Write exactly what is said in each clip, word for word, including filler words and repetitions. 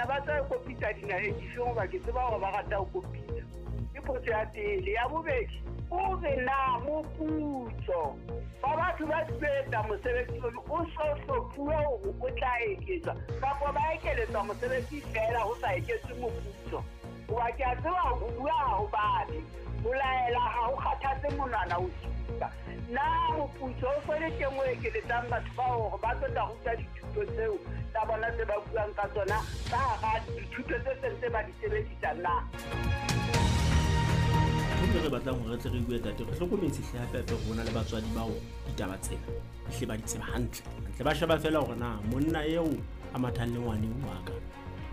Bona ba tla kopitsa dinaheng difeng, hoba ke tseba hore ba rata ho kopitsa? Ke potso ya pele. Ya bobedi, o re na moputso wa batho ba etsa mosebetsi ono o so hlophuwe hore o tla eketswa, kapa ba ekeletswa mosebetsi feela ho sa eketswe moputso? Hoba ke a tseba ho bua ha ho babe, ho laela ha ho kgathatse monwana o supa. Na moputso o so le teng o ekeletsang batho bao hore ba tlo tla ruta dithuto tseo tsa bona tse ba buang ka tsona ka hara dithuto tse seng tse ba di sebedisa na? Ntho e re batlang hore re tle re bue, tate, re hlokometse hle hape hape hore ho na le batswadi bao ditaba tsena ehle ba di tseba hantle hantle. Ba sheba feela hore na monna eo a mathang le ngwaneng wa ka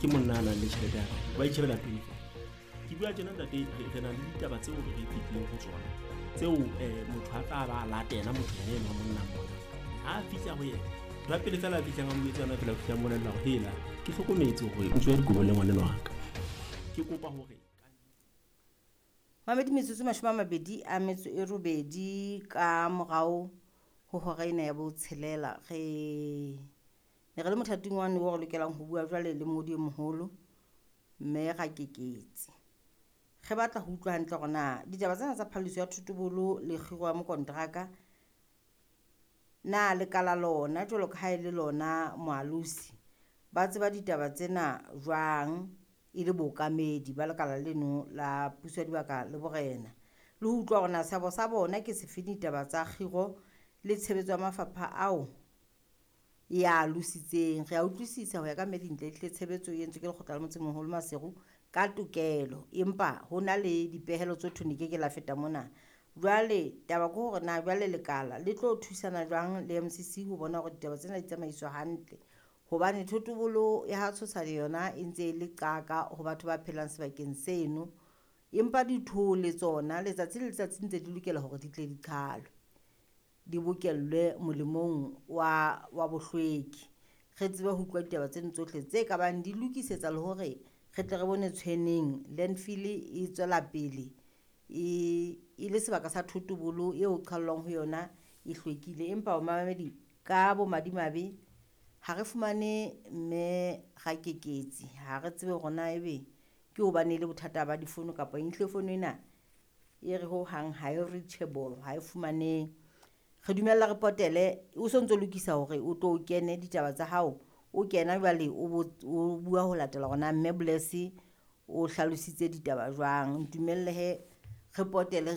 ke monna a nang le tjhelete ya kae, ba itjhebela pele feela. Ke bua tjena, ntate, re re na le ditaba tseo re re fetileng ho tsona tseo um motho a tla ba a latela motho yena eno wa monna mona. Ha a fihla ho yena, ntho ya pele fela a fihlang a mo etsa yona fela, o fihla a mmolella hore hela, ke hlokometse hore o tswa dikobo le ngwaneno wa ka, ke kopa hore Mamedi, metsotso mashome a mabedi a metso e robedi ka morao ho hora ena ya botshelela. Re ne re le mothating wane oo re lokelang ho bua jwale le mongodi e moholo mme Rakeketsi. Re batla ho utlwa hantle hore na ditaba tsena tsa phalliso ya thotobolo le kgiro ya mokonteraka, na lekala lona jwalo ka ha e le lona moalosi ba tseba ditaba tsena jwang e le bookamedi ba lekala leno la puso ya dibaka le borena, le ho utlwa hore na seabo sa bona ke sefe ditaba tsa kgiro le tshebetso ya mafapha ao ya alositseng. Re a utlwisisa ho ya ka Mme Dintle, ehlile tshebetso e entswe ke lekgotla la motsemoholo Maseru ka tokelo, empa ho na le dipehelo tse thweng di ke ke la feta mona. Jwale taba ke hore na jwale lekala le tlo thusana jwang le M C C ho bona hore ditaba tsena di tsamaiswa hantle, hobane thotobolo ya ha Tshosane yona e ntse e le qaka ho batho ba phelang sebakeng seno, empa dithole tsona letsatsi le letsatsi ntse di lokela hore di tle di qhalwe, di bokellwe molemong wa wa bohlweki. Re tsebe ho utlwa ditaba tseno tsohle tse ka bang di lokisetsa le hore re tle re bone tshweneng landfill e tswela pele e e le sebaka sa thotobolo eo qhallwang ho yona e hlwekile. Empa mamedi, ka bomadimabe ha re fumane mme Rakeketsi, ha re tsebe hore na ebe ke hobane e le bothata ba difono kapa ehlile fono ena e re hohang ha e reachable, ha e fumanehe. Re dumella re potele o so ntso lokisa hore o tlo kene ditaba tsa hao, o kena jwale o o bua ho latela hore na mme Bless o hlalositse ditaba jwang. Ntumelle he re potele.